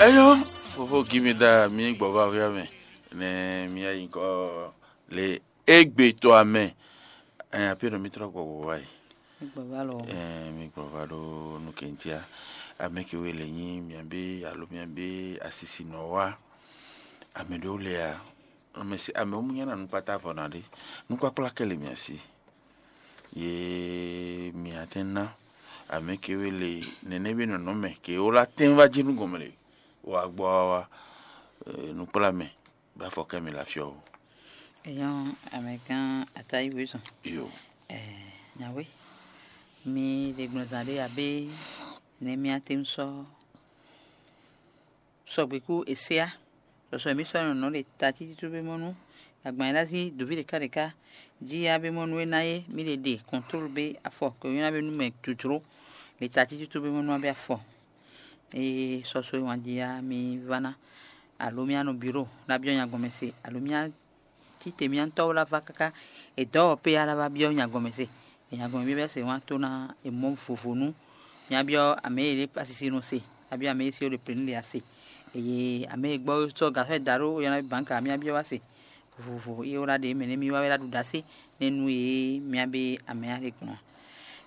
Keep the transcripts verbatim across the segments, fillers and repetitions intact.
Eyo, fofo gimi da mi gbɔ va hwia mɛ, ne mi ayi kɔ le egbe to amɛ. Ɛn apɛ no mi trɔ gbɔ gbɔ wa yi. Gbɔ va lɔ. Ɛn mi gbɔ va ɖo nu kɛntia. Ame ke we le nyi miabe alo miabe asisi nɔ wa. Ame ɖewo le a, ame si ame wo mu nyana nukpata vɔ na ɖe. Nukpakpla kɛ le mia si. Ye mia tɛn ná ame ke we le nɛnɛ be nɔnɔ mɛ ke wo la tɛn va jí nu gɔmɛ le. Wa gbɔ wa wa nukpla mɛ. Bá fɔ kɛ mi la fiɔ o. Èèyàn amẹ̀gán àtayíwèé sùn. Yo. Nyawe mi ɖe gbɔn zan ɖé abe nɛ mi atɛn sɔ sɔgbe kú èséá. Sɔsɔ mi sɔ nɔnɔ ɖe ta títí tó be mɔnu. Agban yɛ lazi dovi ɖeka ɖeka jí abe mɔnu e ná yé mi ɖe ɖe kɔntrol be afɔ kò nyɔ́ be nú mɛ jojlo. Ɖe ta títí tó be mɔnu abe afɔ. Eye sɔsɔ e wǎn jí ya mi va ná, alo mi anɔ biro ná byɔ́ nya gɔmɛ se, alo mi títè mi ŋutɔ́ wá lá vá káká è dɔ̌ ɔ́ pé á lá vá byɔ́ nya gɔmɛ se. È nya gɔmɛ byɔ́ se wá tó ná è mɔ vovo nú mi á byɔ́ amɛ e ɖe asisi nɔ se, a byɔ́ amɛ e si ɖo plɛ̌nu ɖe ase. Eye amɛ e gbɔ sɔ́ gasɔ e da ɖó yɔ́ ná bánka mi á byɔ́ wá se. Vovo e wá ɖe mɛ nɛ mi wá wɛ ɖo ɖasé nɛ nú e mi á be amɛ á ɖe gbɔn.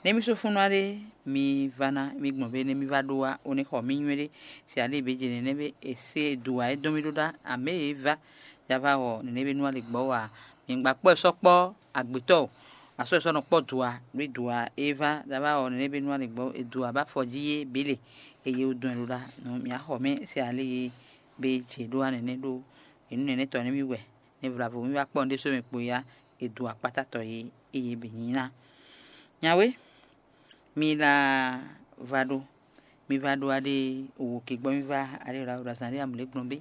Nɛ mi sɔ́ fúnnu aɖe mi va ná mi gbɔn be nɛ mi va ɖó wá ó nɛ xɔ mi nywɛ́ ɖé. Se aɖe be jɛ nɛnɛ be è se do wá é dɔn mi ɖó ɖá amɛ e va ya va wɔ nɛnɛ be nú ali gbɔ wá. Mi gba kpɔ́ sɔ́ kpɔ́ agbětɔ́ o. Asɔ́ sɔ́ nɔ kpɔ́ do wá ɖó do wá é va ya va wɔ nɛnɛ be nú ali gbɔ e do wá bá fɔ jí é bě le. Eye wodun ɛ ɖó ɖá nú mi á xɔ mɛ se ale e be jɛ ɖó wá nɛnɛ ɖó. Enu nɛnɛ tɔn nɛ mi wɛ ne vlavo mi wá kpɔ́n ɖésú mɛ kpo ya, è dó akpátatɔ e eye bǐ nyí ná. Nyawe, mi la va ɖó, mi va ɖó aɖé wǒ ke gbɔ mi va aɖé wla wla zan ɖé amlě gbɔn bé.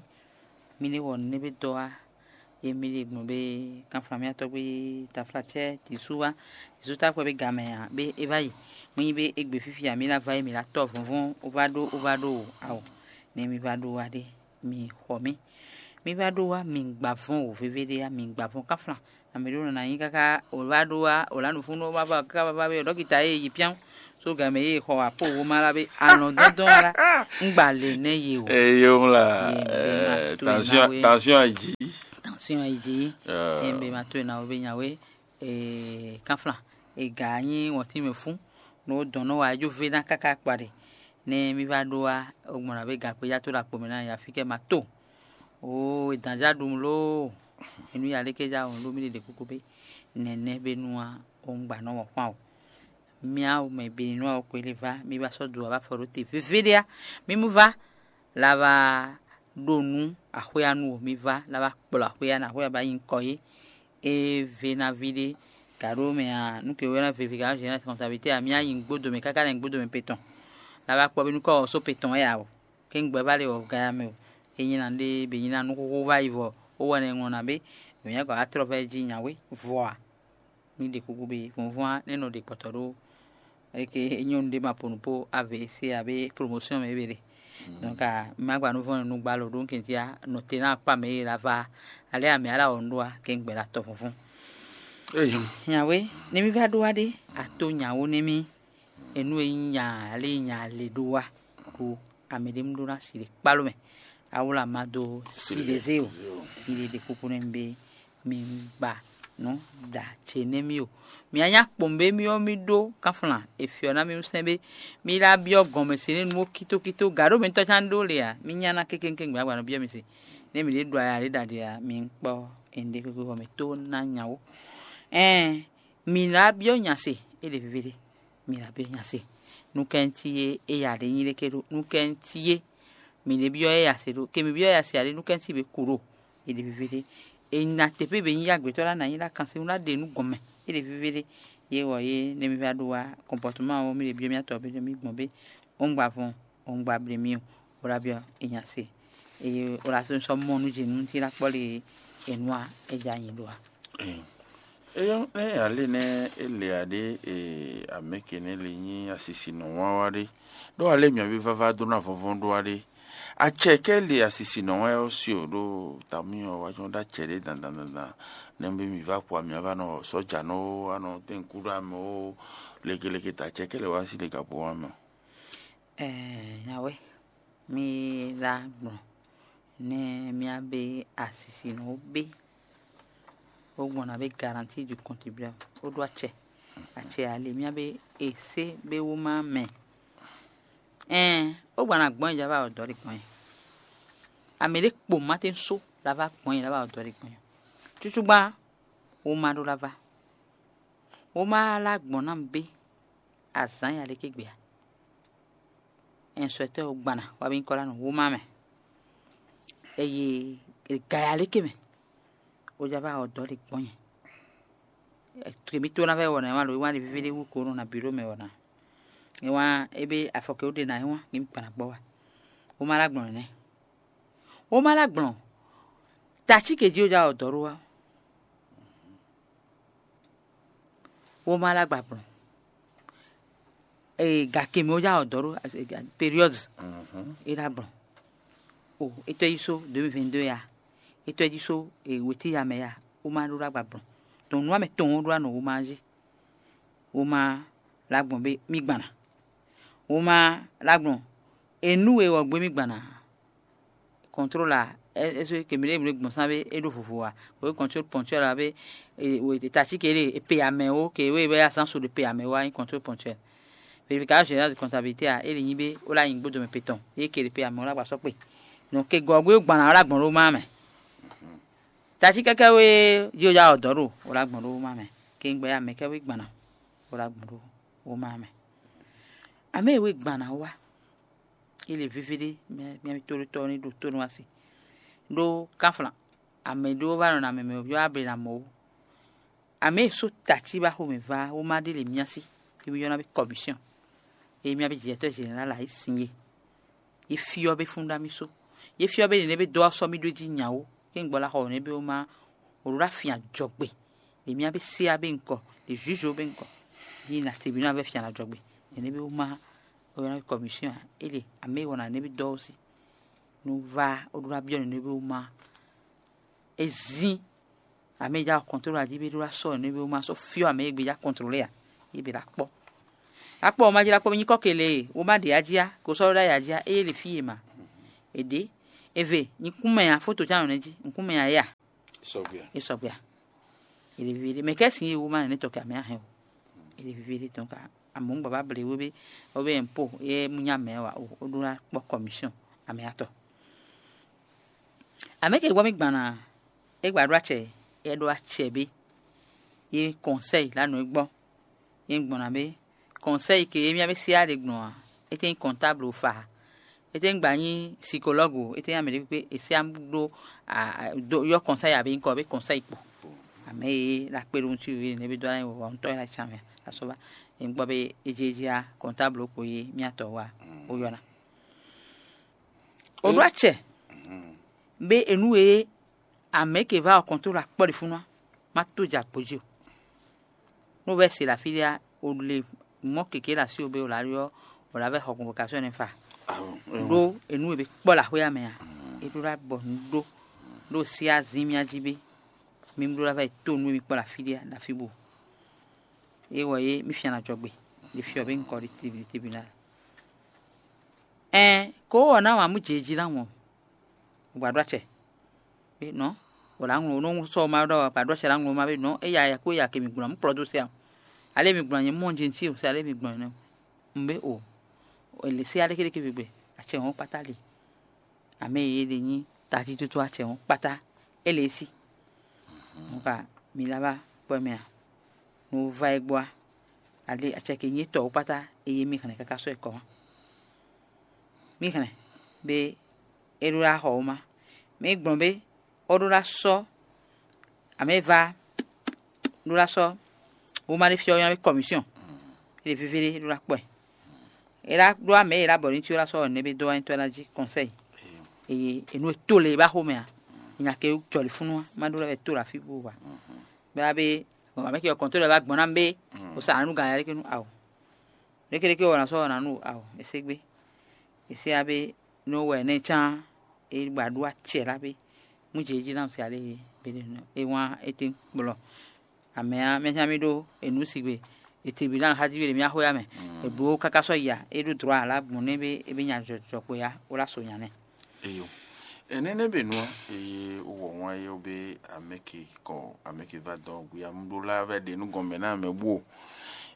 Mi ní wɔ nǔ nɛ́ bé dɔ wá, ye mi ɖe gbɔn bé kanflan mi atɔ́ gbé tafla cɛ tǐsú wá, tǐsú táfɔ bé gamɛ ǎ bé é vá yi. Mɔ nyi bé égbé fífí ǎ mi ná va yi mi la tɔ́ vɔ̌nvɔ́n ó vá ɖó ó vá ɖó o awo, nɛ mi va ɖó aɖé. Mi xɔ mì. Mi va ɖó wá mi gba vɔn wǒ vévé ɖé ya, mi gba vɔn káflan. Ame ɖé nɔ ná nyí káká wǒ va ɖó wá wǒ lá nǔfúnú wá va káká va va vé ɖɔkita e yi pyán só gǎn mɛ ye xɔ wá kpó wó má lá bé alɔn dɔndɔn wá lá. Un gba lě nɛ ye o. Eye ŋla Ye, be ma to ɛ na tension we. Tension ayi dzi. Tension ayi dzi. Ɛ be ma to ɛ na wo be nya we. Ee, kanflan, e ga nyí wɔntín mɛ fún, nú dɔn nɔ wa jó vé ná káká kpa ɖe. Nɛ mì va ɖó wá, ogbɔn ná vé gǎkpéjá tó ɖo akpo mɛ ná ya fí kɛ ma to. Oo, e dǎn já ɖu lóo, e nú ya léké já wɔn ɖó mì ɖe ɖe kúkú bé. Nɛnɛ bé nú wá, o un gba nɔ wɔn kpán o. Mì á mɛ be nú wá o kpé lé vá, mì va sɔ́ do wá va fɔ ɖó te vévé ɖé á. Mì mú vá, la va ɖo nú axwéanu o, mì va la va kplɔ axwéanu, axwéanu ba nyi kɔ yé. E ve ná ví ɖé gǎ ɖó mɛ ǎ, nú ke wɛ ná vevi gǎ ná zě ná kɔntabilité ǎ, mì á yi gbódo mɛ káká nɛ gbódo mɛ pe tɔn. La va kpɔ bí nú kɔ ɔ́ só pe tɔn wɛ ǎ o. Kéŋgbɛ va lé wɔ gaya mɛ o. E nyi ná ɖé be nyi ná nú xóxó va yi vɔ ó wɛ nɛ ŋlɔ ná bé. Mɛ nyá gɔ́ atrɔ vɛ jí nyawé vɔ a? Ní ɖe kuku bé vɔnvɔn á nɛ́ nɔ ɖe kpɔtɔ ɖó eke nyɔnu ɖé ma po nǔ po ave se abe promotion mɛ ebe ɖe. Donc a ma gba nú vɔn nu gba lo ɖó kɛntia nɔ te na kpa mɛ yi la va ale amɛ ala wɔ nu ɖó a kɛ gbɛ la tɔ funfun. Eyo. Nyawe ne mi va ɖó wa ɖe ato nyawo ne mi enu e nya ale nya le ɖó wa ko ame ɖe mu ɖó na si ɖe kpalo mɛ awla ma do si ɖe ze o. Mi ɖe ɖe kuku ne mi be mi gba nǔ ɖa ce nɛ́ mì o. Mǐ a nyá kpɔn bé mì ɔ́ mì ɖó kanflan e fyɔ́ ná mì wú sɛ́n bé mì lá byɔ́ gɔ̌n mɛ se nú nú ó kítókító gǎ ɖó mǐtɔn cán ɖó le ǎ, mì nya ná kékéŋkéŋ gbǎgbá nɔ byɔ́ mi se. Nɛ́ mǐ ɖě ɖu aya ɖě ɖaɖě ǎ, mi kpɔ́ e un ɖe xwé xwé xɔ mɛ tó ná nya wó. Ɛɛn, mǐ lá byɔ́ nya se, é ɖe veve ɖé. Mǐ lá byɔ́ nya se. Nú kɛ́ntíyé é ya ɖě nyí ɖé ké ɖó nú kɛ́ntíyé. Mǐ ɖě byɔ́ é ya se ɖó ke mǐ byɔ́ é ya se ǎ ɖé nú kɛ́ntíyé bě ku ɖó. È ɖe veve ɖé. È nyi na teƒe be nyí agbětɔ́ ɖo anǎ nyi ɖo akansinwú ná ɖe nú gɔnmɛ. É ɖe veve ɖé. Yě wɔ yé ne mi va ɖó wá kɔnpɔtuma ɔ́, mi ɖe byɔ́ mì atɔ be mi gbɔn bé ó un gba vɔn, ó un gba ble mì o, bó ná byɔ́ è nya se. Eye ó ná sɔ́ mɔ nú jě nú tí ná kpɔ́ le è nú a é ja nyi ɖó a. Eyɔ́ nɛ́ alé nɛ́ é le ǎ ɖé e amɛ̌ ke nɛ́ le nyí asisinɔ wán wá ɖé, ɖó alé mǐaví vává dó ná vɔ́vɔ́ ɖó wá ɖé. Acɛ kɛ́ le asisinɔ wɛn ɔ́ si o ɖó tamyɔ wá jɔ́n ɖó acɛ ɖé dandan dandan. Nɛ́ bí mi vá kpo amyɔ vá nɔ sɔ́ja nɔ ó, anɔ tɛ́n kú ɖó amɛ ó, lekeleke ta acɛ kɛ́ lɛ wá sí ɖe gǎpó wá mɛ. Ɛɛ, nyawe. Mi lá gbɔn nɛ́ mía bé asisi nɔ ó bé, ó gbɔn ná bé garanti du contribuable ó ɖó acɛ. Acɛ ali mía bé e sé bé wú má mɛ. Ɛn, ó gbɔn ná gbɔn ja vá ɔdɔ ɖi gbɔn. Amɛ ɖé kpo má tɛn só la vá gbɔn la vá ɔdɔ ɖi gbɔn. Cucugba wú má ɖó la vá. Wú má lá gbɔn ná bé azǎn ya lé ké gbé a. Ɛn sɔ́ tɛ́ wú gbana wá bí nyí kɔ́ lá nɔ wú má mɛ. Eye gaya lé ké mɛ. Ó já vá ɔdɔ ɖi gbɔn nyɛ. Twe mító ná vɛ wɔna wá lo wá ɖi víví ɖé wú ko nɔ na bǐ ɖó mɛ wɔna. É wá é bé afɔkɛ ó ɖe ná é wá ní mi kpan gbɔ wá. Wó má lá gbɔn nɛnɛ. Wó má lá gbɔn. Tací ke jí ó já ɔdɔ ɖó wá. Wó má lá gba gbɔn. Ee, gake mɛ ó já ɔdɔ ɖó période. É ɖá gbɔn. O, é tɔ́ yí só deux mille vingt-deux ya. É tɔ́ yí só wetí ya mɛ ya. Wó má ɖó lá gba gbɔn. Tɔn nú amɛ tɔn ó ɖó anɔ wó má jí. Wó má lá gbɔn bé mí gbana. Wó má lá gbɔn. Enú e wɔ gbé mí gbana. Contrôle a, est-ce que mǐ ɖe mǐ ɖe gbɔn sán bé é ɖó vovo a? Wǒ contrôle ponctuel a bé tací ke ɖe è pe amɛ ó ke wé bɛ azán so ɖe pe amɛ ó wá nyí contrôle ponctuel. Vérification générale de comptabilité a é lě nyí bé ó lá nyí gbódò mɛ pe tɔn é ke ɖe pe amɛ ó lá gba sɔ́ kpe. Donc ke gɔ̌ gbé gbɔn ná ó lá gbɔn ɖó má mɛ. Tací kɛ́kɛ́ wé jí ó já ɔdɔ̌ ɖo ó lá gbɔn ɖó má mɛ. Ke gbɛ amɛ kɛ́ wé gbɔn ná ó lá gbɔn ɖó ó má mɛ. Amɛ e wé gbɔn ná wá. Ele veve ɖé mía mía tóɖótɔ́ ní ɖo tónú asi. Ɖó kánflán, ame ɖó wá nɔ na mɛ mɛ ɔ́ able na mɔ ó. Ame e só tací ba xomɛ va wó má ɖe le mía sí, é mí ylɔ́ ná bí kɔmisiɔn. É mía bí jǐyɛtɔ́ zeɖɛnlá la yí sin yé. Yé fyɔ́ bé fún ɖá mì só. Yé fyɔ́ bé nɛnɛ bé dó ɔ́ sɔ́ mì ɖó jí nyawó. Kéŋgbɔ lá xɔ nɛnɛ bé wó má wǒ ɖó ná fin ajɔgbe. Ɖě mía bé sé á bé ŋkɔ, ɖě zǔzo bé ŋkɔ. Yí na te bǐ ná vɛ́ fin ajɔgbe. Nɛnɛ bé wó má wó ylɔ́ ná bí kɔmisiɔn ǎ. É le amɛ e wɔ na nɛnɛ bí dɔ́ ɔ́ sí. Nú vá ó ɖó ná byɔ́ nǔ nú é wú má. É zín amɛ e já kɔntrol ají bé ɖó ná sɔ́ nǔ é wú má sɔ́ fyɔ́ amɛ e gbé já kɔntrolé ǎ. É bǐ ná kpɔ́. Akpɔ wǒ má jlá kpɔ́ nyí kɔ́ ke lě e wǒ má ɖe ají á, ko sɔ́ ɖó ɖ'ayǐ ají á, ée le fí e ma. È ɖě. Eve, nyí kún mɛ ǎ, fóto ján nɔ nɛ́ jí, un kún mɛ ǎ é a? Sɔgbe a? É sɔgbe a? È lě vivi ɖé. Mɛ kɛ́ sin e wú má nɛ́ tɔ́ kɛ amɛ á hɛn o. È lě vivi ɖé tɔn ka amɔ̌ un gbǎ ble wé bé, wé bé ɛnpo é mú nyá mɛ wǎ o, ó ɖó ná kpɔ́ kɔmisiɔn amɛ atɔ. Amɛ ke gbɔ mì gbana é gba ɖó acɛ é ɖó acɛ bé. Yé kɔnsɛyi lǎnú é gbɔ. Yé gbɔn ná bé kɔnsɛyi ke émí ná bé sí á ɖe gbɔn ǎ. É tɛ́ nyí kɔntáblu fa ǎ. É tɛ́ nyí gba nyí sikolɔ́gu ó. É tɛ́ nyí amɛ ɖé kpé é sí á ɖó yɔ kɔnsɛyi abǐ nyí kɔ bé kɔnsɛyi kpo. Amɛ e la kpé ɖó ŋutsu yě nɛ́ bí dó ná nyí wɔ ŋutɔ́ é ná can mɛ asɔba. É gbɔ bé é jí é jí á kɔntáblu kpo yé mí atɔ wá ó yɔ ná. Ó ɖó acɛ bé enu e amɛ ke va ɔ kɔntrol akpɔ ɖi fúnú má tó jɛ agbo jí o. Nú vɛ́ se le afí ɖé á, o le mɔ̌ kěké ɖo así o bé o lǎ ɖyɔ́ o lǎ vɛ́ xɔ convocation nɛ́ fa. Ɖó enú e bé kpɔ́ le axwé ya mɛ a? É ɖó ɖá bɔ nǔ ɖó ɖó sí azín mía jí bé. Mí ɖó ɖá vɛ́ tó nú e mí kpɔ́ le afí ɖé ɖo afí bú. É wɔ é mí fian ná jɔ gbe ɖi fyɔ bé ŋkɔ ɖi tribunal. Ɛn kó wɔ ná wǎn mú jě jí ná wɔn. Gbǎɖó acɛ. Nɔ wǒ lá ŋlɔ nɔ sɔ ma ɖɔ gbǎɖó acɛ lá ŋlɔ ma bé nɔ eya ya kó ya ke mi gbɔn mú kplɔ dó sɛ. Ale mi gbɔn nyɛ mɔ jɛnti o sɛ ale mi gbɔn nɛ. Un bé o. Èlè sɛ ale kéɖéké gbegbe. Acɛ wɔn kpátá le. Amɛ yě ɖe nyí tatítótó acɛ wɔn kpátá. Ele e sí. Nka mi lá vá kpɔ́ mɛ a? Nú vá é gbɔ a? Ale acɛ ke nyí tɔ̌ kpátá eye mi hɛn káká sɔ́ ɛ kɔ wá. Mí hɛn bé é ɖó ná xɔ wóma. Mí gbɔn bé ó ɖó ná sɔ́ amɛ e va ɖó ná sɔ́ wóma ɖé fyɔ́ ɔ́ nyɔ́ bé kɔmisiɔn. É ɖe vívélé é ɖó ná kpɔ́ ɛ. É ná ɖó amɛ e é ná bɔ ní cí ó ná sɔ́ ɔ́ nɛ́ bé dó wá nyitɔ́ ná jí kɔnsɛ́yi. Eye è nú è tó le é bá xomɛ ǎ. Nya ke jɔlǐfúnú má ɖó lɛ́ wɛ tó le afí bó wa. Bá bé mɛ ke ɔ kɔntɔ́ lɛ́ bá gbɔn ná bé o sa nǔ gan yá ɖé ké nú ao. Ɖékeɖéke wɔ ná sɔ́ wɔ ná nú ao, è sé gbé. È sé á bé nú wɛ nɛ́ cán é gba ɖó acɛ lá bé. Mú jě jí ná se alé é wán é tɛ́n kplɔ. Amɛ ɔ́, mɛ cán mì ɖó è nǔ sigbe Etebila xá jí ɖe mía xwé ya mɛ. Eblo káká sɔ́ ya, é ɖó dlɔ̌ alá gbɔn nɛ́ bé é bé nya jɔjɔkpo ya, ó lá so nya nɛ́. Eyo. Enene be nua eye wɔ wan ye be ameke kɔ ameke va dɔ gbe amɖo la vɛ ɖe nu gɔmɛ na mɛ bu.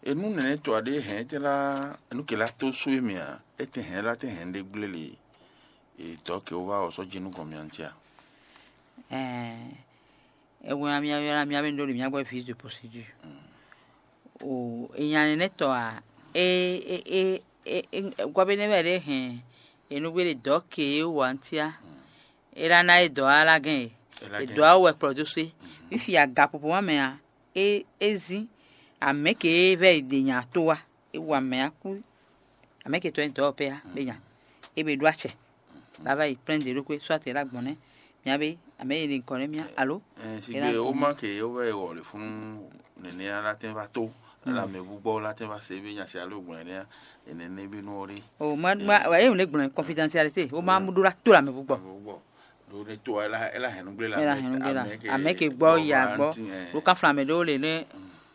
Enu nene to aɖe hɛn te la nu ke la to so emi a ete hɛn la te hɛn ɖe gble le. E dɔ ke wo va wɔ sɔ ji nu gɔmɛ an tia. Ɛɛ, ewe amia yɔna mia be ndo le mia gbɔ fils de procédure. O, enya nɛnɛ tɔ a, e e e e e gwa be ne wɛ ɖe hɛn, enugbe ɖe dɔ ke e wa tia. E la na e dɔ ala gɛn e. E dɔ awo wɛ kplɔ do se. Fifi aga popo wa mɛ a, e e zin amɛ ke e vɛ e de nya to wa. E wa mɛ a ku amɛ ke tɔ e dɔ pɛ a be nya. E be ɖo acɛ. La va yi plein de ɖokwe soit e la gbɔn nɛ mia be amɛ yi ni kɔ nɛ mia alo. Sigbe o ma ke o vɛ wɔ le funu nene ala tɛn va to ala mɛ bu gbɔ la tɛn va se be nya se alo gbɔn nɛ nene be nu o le. O ma ma wa e ne gbɔn confidentialité o ma mu ɖo la to la mɛ bu gbɔ. Ɖo ne to ela ela hɛn nugble la ela hɛn nugble la amɛ ke gbɔ ya gbɔ. O kan flan mɛ ɖewo le ne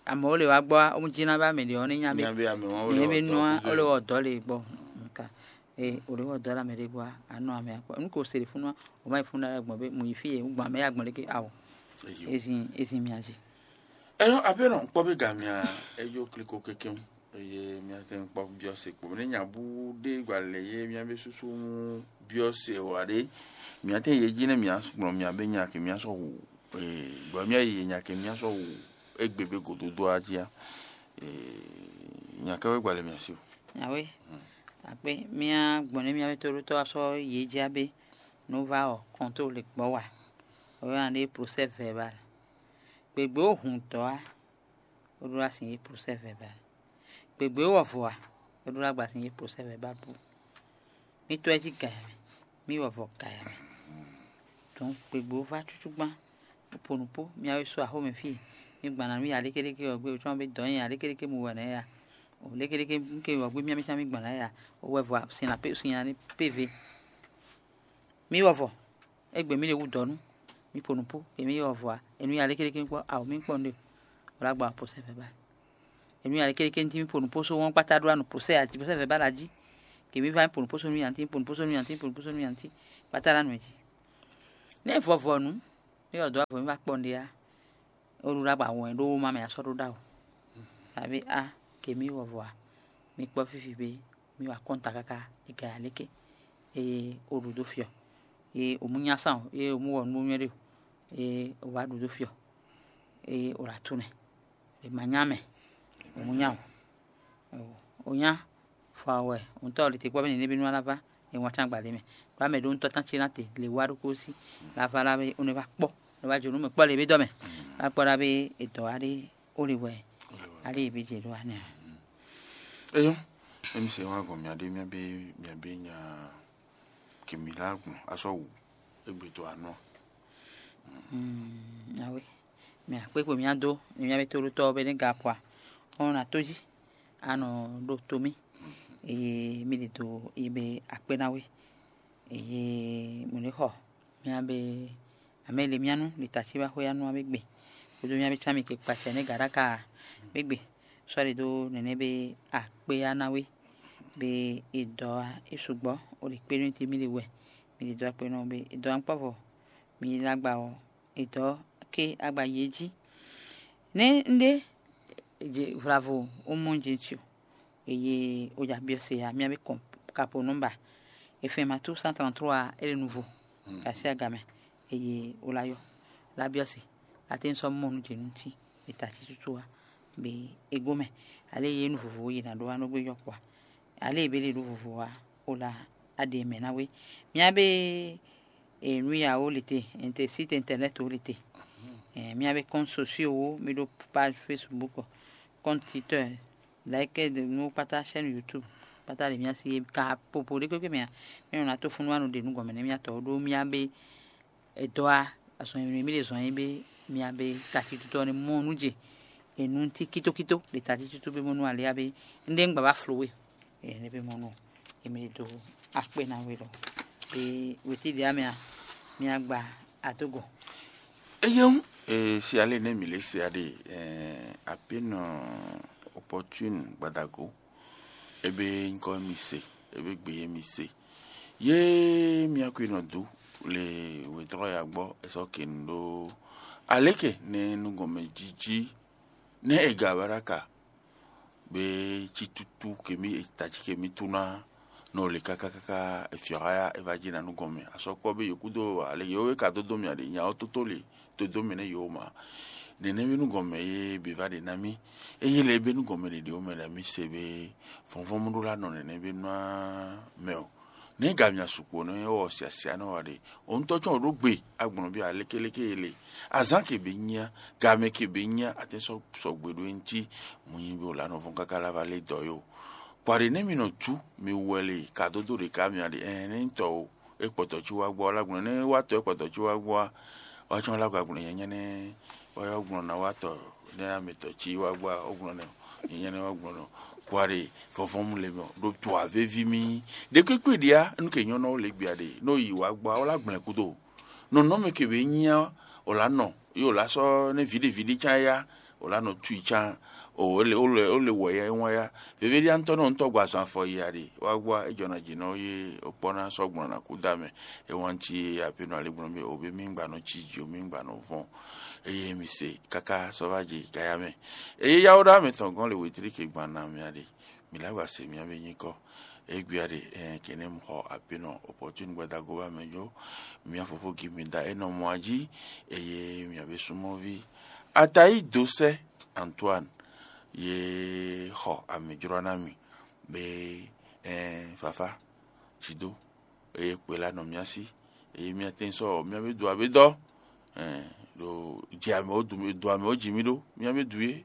amɛ wo le wa gbɔ o mu jina ba mɛ ɖe ɔ ne nya be ne be nua o le wɔ dɔ le gbɔ nka. E o ɖe wɔ dɔ la mɛ ɖe gba anɔ amɛ akpɔ nu ko se ɖe funu o ma yi funu ɖe gbɔn be mu yi fi ye gbɔn amɛ ya gbɔn ɖe ke awo ezin ezin mia zi. Ɛyɔ abe nɔ kpɔ be ga mia eyo kliko kekeŋ eye mia tɛ kpɔ biɔ se kpo ne nya bu ɖe gba le ye mia be susu mu biɔ se wa ɖe mia tɛ ye dzi ne mia gblɔ mia be nya ke mia sɔ wu gbɔ mia yi ye nya ke mia sɔ wu egbe be gododo a jí a nya kɛ wɛ gba le mia si o. Awe akpe mía gbɔn nɛ mía be tóɖótɔ́ wá sɔ́ yě jɛ abé nú vá ɔ́ kɔntóo le gbɔ̌ wa, wɛ ná ɖe procès verbal. Gběgbé ó hun dɔ̌ á, bó ɖó ná sin yě procès verbal. Gběgbé ó wɔ vɔ̌ á, bó ɖó ná gba sin yě procès verbal bú. Mí tɔ́ ɛ jí gǎ ya mɛ, mí wɔ vɔ̌ gǎ ya mɛ. Dɔ̌n gběgbé ó vá cúcúgbán, bó po nǔ kpó, mí wá yi sú axó mɛ fí e mí gbǎn ná nú ya lékeléké ɔ́ gbé, wǒ cɔ́ bé dɔ̌ nyi ya lékeléké mu wɛ nɛ̌ ya. Lékeléké ke ɔ́ gbé mía mɛ cán mí gbǎn ná ya, wɛ vɔ̌ sin ná pé sin ná ní péve. Mí wɔ vɔ̌, égbé mí ɖe wú dɔ̌ nú, mí po nǔ kpó, ke mí wɔ vɔ̌ ǎ, è nú ya lékeléké kpɔ́, awo mí kpɔ́ nú ɖe, wǒ lá gba procès verbal. È nú ya lékeléké ní cí mí po nǔ kpó só wɔ́n kpátá ɖó anu procès ǎ jí, procès verbal ǎ jí, ke mí vá mí po nǔ kpó só nú ya ntí, mí po nǔ kpó só nú ya ntí, po nǔ kpó só nú ya ntí, kpátá ɖó anu ɛ jí. Nɛ́ vɔvɔ nǔ, mí wɔ dɔ̌ avɔ mí va kpɔ́ nú ɖe ǎ. Ó ɖó ɖó agba wɛn ɖó wóma mɛ a sɔ́ ɖó ɖawo. Abé a ke mí wɔ vɔ a, mi kpɔ́ fífi bé mi wa kɔ́n ta káká e ka ya léké. Eye o ɖu dó fiɔ. Eye o mú nyá sán o, eye o mú wɔ nú bó nyɔ́ ɖe o, eye o wá ɖu dó fiɔ. Eye o ɖo atú nɛ, è ma nyá mɛ, o mú nyá o. O nyá fɔ awɛ, ŋutɔ ɔ lite kpɔ́ bɛ nɛnɛ bí nú ala vá, e ŋɔ tán gbadé mɛ. Ɖó amɛ ɖó ŋutɔ tán ce ná te le wá ɖokpó sí, la vá la bɛ ó nɛ vá kpɔ́, nɔ vá jǒ nú mɛ kpɔ́ le bí dɔ́ mɛ. Vá kpɔ́ ɖá bí è dɔ̌ wá ɖé ó le wɛ, ali è bí jě ɖó wá nɛ. Eyɔ́, emi se wá gɔn mia ɖé mia bí mia bí nya kèmí lá gbɔn asɔ wǔ égbé tó anɔ. Awe, mɛ akpékpo mía dó, mía bɛ tóɖótɔ́ bɛ ní ga kɔ a, ɔ́ nɔ tójí, a nɔ ɖo to mì, eye mi ɖi do yi be akpé ná we, eye mɔ̌ ní xɔ mía be amɛ le mía nú ɖi tací wá xwé ya nú a bé gbe, kpódó mía bé cán mi ke kpacɛ nɛ́ gaɖáka a bé gbe, sɔ́ ɖi dó nɛnɛ́ bé akpé ya ná we, be e dɔ̌ wá é sukpɔ́, o ɖi kpé nú ti mì ɖi wɛ, mi ɖi dɔ̌ akpé nɔ be e dɔ̌ wá kpɔ́ vɔ, mi ɖi lágba ɔ́, e dɔ̌ ké agba yi é jí. Nɛ́ un ɖe vlavo ó mɔ jɛ́n ci o, eye ó ja byɔ́ se ǎ, mía bé kɔn kapo nɔ́mba e fɛn ma tú cent trente-trois ɔ́, é ɖo nuvo kasi aga mɛ, eye ó lá yɔ lá byɔ́ se, lá tɛ́n sɔ́ mɔ nú jě nú cí e ta cí tútú ǎ, be é gó mɛ, alě e yě nu vovo yě ná ɖó wá nɔ gbé yɔ kpɔ́ ǎ, alě e bé lě ɖó vovo ǎ, ó lá á ɖe mɛ ná wé. Mía bé e nú ya ó le te, inte site internet ó le te. Mía bé compte sociaux ó, mi ɖó page Facebook, compte Twitter, like de nú kpátá chaîne YouTube, kpátá ɖe mía si é ka popo ɖé kpékpé mɛ ǎ. Mí nɔ ná tó fúnú wá nɔ ɖe nú gɔmɛ nɛ́ mía tɔ ó ɖó mía bé e dɔ́ wá azɔn e mí ɖe zɔn é bé mía bé tatíntúntɔ́ ɔ́ ní mɔ nú jɛ e nú cí kítókító ɖe tatíntúntɔ́ bé mɔ nú alé á bé un ɖe un gbǎ wá flo we. Ene be mɔnu emi ɖo akpé ná wé lɔ. Be wetí ɖe amɛ a mi agba adogo. Eye ŋu e si ale ne mi le se aɖe apenɔ Opportune Gbadago, ebe nyikɔ mi se, ebe gbe ye mi se. Ye mia kwi nɔ du le wetɔ́ ya gbɔ esɔ kenu ɖo aleke ne nugɔmɛ jiji ne ega baraka be ci tutu kemi eta ci kemi tuna nɔ le kaka kaka efiɔha ya eva ji na nugɔmɛ asɔkpɔ be yokudo ale yewo ka dodo mi aɖe nyawo toto le todo mi ne yewo ma. Nɛnɛ be nugɔmɛ ye be va ɖe na mi. Eye le be nugɔmɛ ɖeɖe wo mɛ ɖe mi se be vɔnvɔn mu ɖo la nɔ nɛnɛ be nua mɛ o. Ne ga mia sukpo ne wɔ siasia ne wa ɖe o ŋutɔ tsɔn ɖo gbe agblɔn bi aleke leke ele azan ke be nyia game ke be nyia ate sɔ sɔgbe ɖo enti mu nyi be o la nɔ vɔn kaka la va le dɔ yo. Kpaɖe ne mi nɔ tu mi wɛ le ka dodo ɖeka mi aɖe ɛn ne tɔ o e kpɔtɔ ci wa gbɔ la gblɔ ne wa tɔ e kpɔtɔ ci wa gbɔ wa tsɔn la gba gblɔ nyanya ne wa yɔ gblɔ na wa tɔ ne ame tɔ ci wa gbɔ o gblɔ ne nyanya ne wa gblɔ nɔ kpaɖe vɔvɔn mu le mɛ ɖo to avevi mi ɖe kpekpe ɖia nu ke nyɔnɔ le gbia ɖe no yi wa gbɔ wa la gblɛ kudo nɔnɔmɛ ke be nyia o la nɔ yi o la sɔ ne viɖe viɖe can ya o la nɔ tui can o ele o le o le wɔ ya e wɔn ya veve ɖi antɔ nɔ ŋutɔ gba zɔn afɔ yi aɖe wa gbɔ e jɔna dzi nɔ ye o kpɔ na sɔ gbɔn na ku da mɛ e wɔn ti ye ape nɔ ale gbɔn be o be mi gba nɔ ci dzi o mi gba nɔ vɔn eye mi se kaka sɔ va dzi kaya mɛ eye yawo ɖa mɛ tɔn gɔn le wetri ke gban na mɛ aɖe mi la gba se mia be nyikɔ Egbia ɖe ɛ kene mu xɔ ape nɔ opportune gbadago ba mɛ jo mia fofo gi mi da enɔ mɔ aji eye mia be sumɔvi Atayi Dosɛ Antoine ye xɔ amɛjlɔ na mi be ɛ fafa dzido eye kpe la nɔ mia si eye mia tɛn sɔ mia be do abe dɔ ɛ ɖo dzi ame wo du do ame wo dzi mi ɖo mia be du ye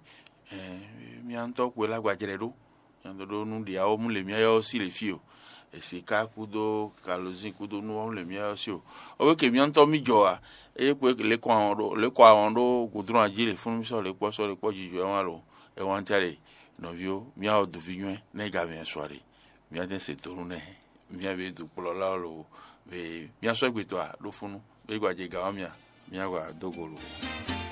ɛ mia ŋutɔ kpe la gbadzrɛ ɖo Nyɔ̌ɖɔɖónú ɖě awɔ́mú lě myá ɔ́ sí lě fí o. È sǐká kúdó kalozín kúdó nú ɔ́ lě myá ɔ́ sí o. Ɔ́ wé ke myɔ́ntɔ́ mì jɔ ǎ. É kpo lě kɔ awɔn ɖó lě kɔ awɔn ɖó gǔdúnú ají lě fúnú mì sɔ́ lě kpɔ́ sɔ́ lě kpɔ́ jijɔ ɛ wán lo. Ɛ wán ca ɖe nɔví ó, myá ɔ doví nywɛ́ nɛ́ ga mɛ sɔ a ɖe. Myá tɛ́ se tónú nɛ́. Myá be dukplɔ́la ɔ́ lo. Be myá sɔ́ gbe tɔ́ a ɖó fúnú. Be gba jɛ gǎ ɔ́ mya. Myá gba dó go lo.